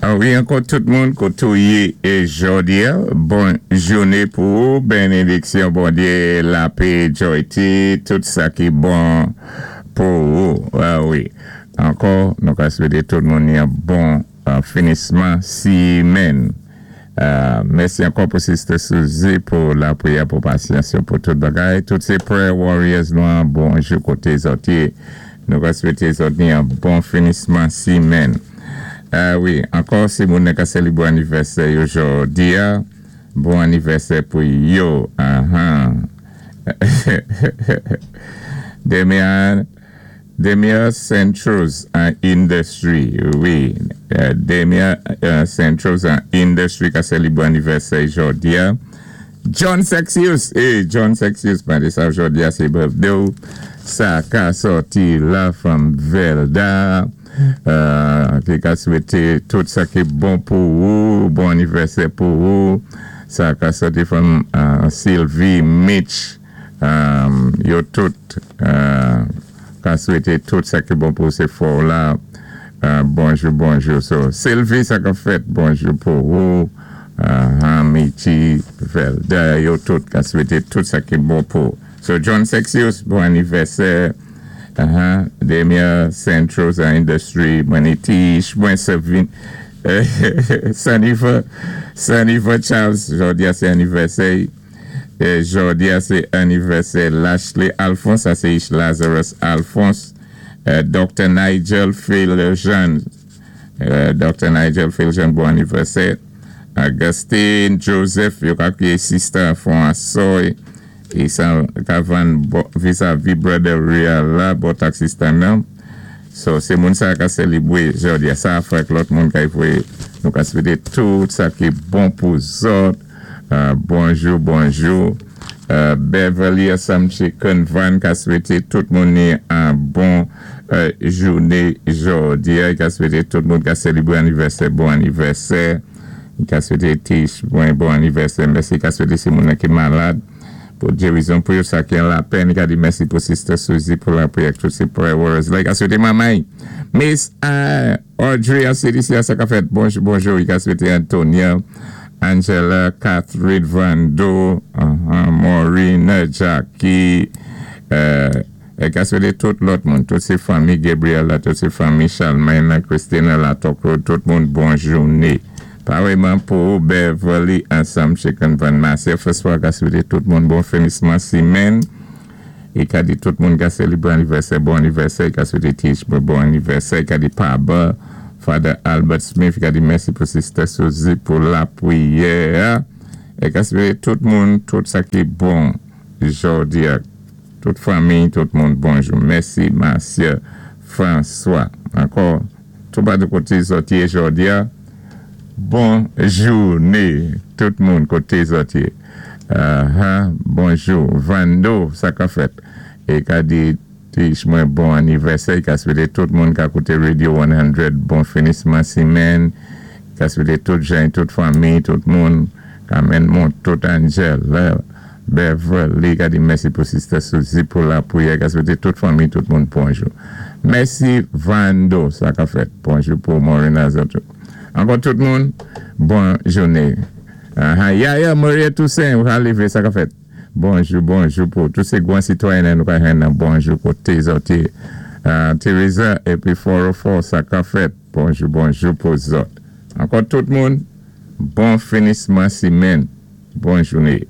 Wi, ankò tout moun koté ou yé jòdi-a, bon jouné pou ou, bénédiksyon Bondyé, lapé, joyti, tout sa ki bon pou ou. Wi, ankò nou ka swété tout moun yon bon finisman simenn. Mèsi ankò pou Sister Suzy pou lapriyè, pou pasyans yo, pou tout bagay. Tout sé prayer warriors nou an, bonjou koté zòt yé. Nou ka swété zòt ni yon bon finisman simenn. Wi, ankò si moun nan ka sélibwé anivèsè yo jòdi-a, bon anivèsè pou yo. Ahan. Demian Demia Centros an Industry, wi, Demia Centros an Industry ka sélibwé anivèsè jòdi-a. John Sexius, eh, John Sexius, mandé sa jòdi-a sé birthday ou. Sa ka sòti la from Velda, ki ka swété tout sa ki bon pou ou, bon anivèsè pou ou. Sa ka sòti from Sylvie Mitch, yo tout ka swété tout sa ki bon pou ou sé fò la. Bonjou, bonjou. So, Sylvie, sa ka fèt, bonjou pou ou. Michi, Velda, yo tout ka swété tout sa ki bon pou ou. So, John Sexius, bon anivèsè. Demia Centros Industry, Manitish, mwen Sevin, Sanifa, Sanifa Charles, jòdi-a sé anivèsè. Jòdi-a sé anivèsè Lashley Alphonse, sa sé Ish Lazarus Alphonse, Dr. Nigel Philjean, Dr. Nigel Philjean, bon anivèsè. Augustine Joseph, yo ka kwiyé sister fon asoy, e sa ka vann vis-a-vis Brother Real la, bò taxi stand nan. So, sé moun sa ka sélibwé jòdi-a. Sa avèk lòt moun ka voyé. Nou ka swété tout sa ki bon pou zòt. Bonjou, bonjou. Beverly Assam Chicken Van ka swété tout moun ni an bon jouné jòdi-a. Ka swété tout moun ka sélibwé anivèsè, bon anivèsè. Ka swété Tish bon, bon anivèsè. Mèsi. Ka swété si moun ki malad pou gérizon pou yo, sa ki an lapèn. Ka di mèsi pou Sister Suzy pou lapriyè, tout sé prayer warriors la. Ka swété manmay Miss Audrey Aselicia, sa ka fèt, bonjou, bonjou. Ka swété Antonia, Angela, Catherine Vando, Maureen, Jackie, ka swété tout lòt moun, tout sé fanmi Gabriel la, tout sé fanmi Charlemagne, Christina Latokro, tout moun bon jouné. Parèyman pou Beverly ansanm Chicken Van Marcia François ka swété tout moun bon finisman simenn. É ka di tout moun ka sélibwé anivèsè, bon anivèsè. Ka swété Tish bon anivèsè. Ka di Paba, Father Albert Smith, ka di mèsi pou Sister Suzy pou lapriyè. É ka swété tout moun tout sa ki bon jòdi-a. Tout fanmi, tout moun bonjou. Mèsi Marcia François. Ankò, tout pa de koté zòt yé jòdi-a. Bon jouné tout moun koté zòt yé. Bonjou Vando, sa ka fèt. É ka di Tish mwen bon anivèsè, ka swété tout moun ka kouté Radio 100 bon finisman simenn, ka swété tout jan, tout fanmi, tout moun, Carmen Mont, tout Angel, Beverly, ka di mèsi pou Sister Suzy pou lapriyè, ka swété tout fanmi, tout moun bonjou. Mèsi Vando, sa ka fèt. Bonjou pou Morena zòt. Ankò tout moun, bon jouné. Yaya Maria Toussaint, ou ka lévé, sa ka fèt. Bonjou, bonjou pou tout sé gwan sitwayen nou ka jwenn nan bonjou koté zòt yé. Teresa épi 404, sa ka fèt. Bonjou, bonjou pou zòt. Ankò tout moun, bon finisman simenn. Bon jouné.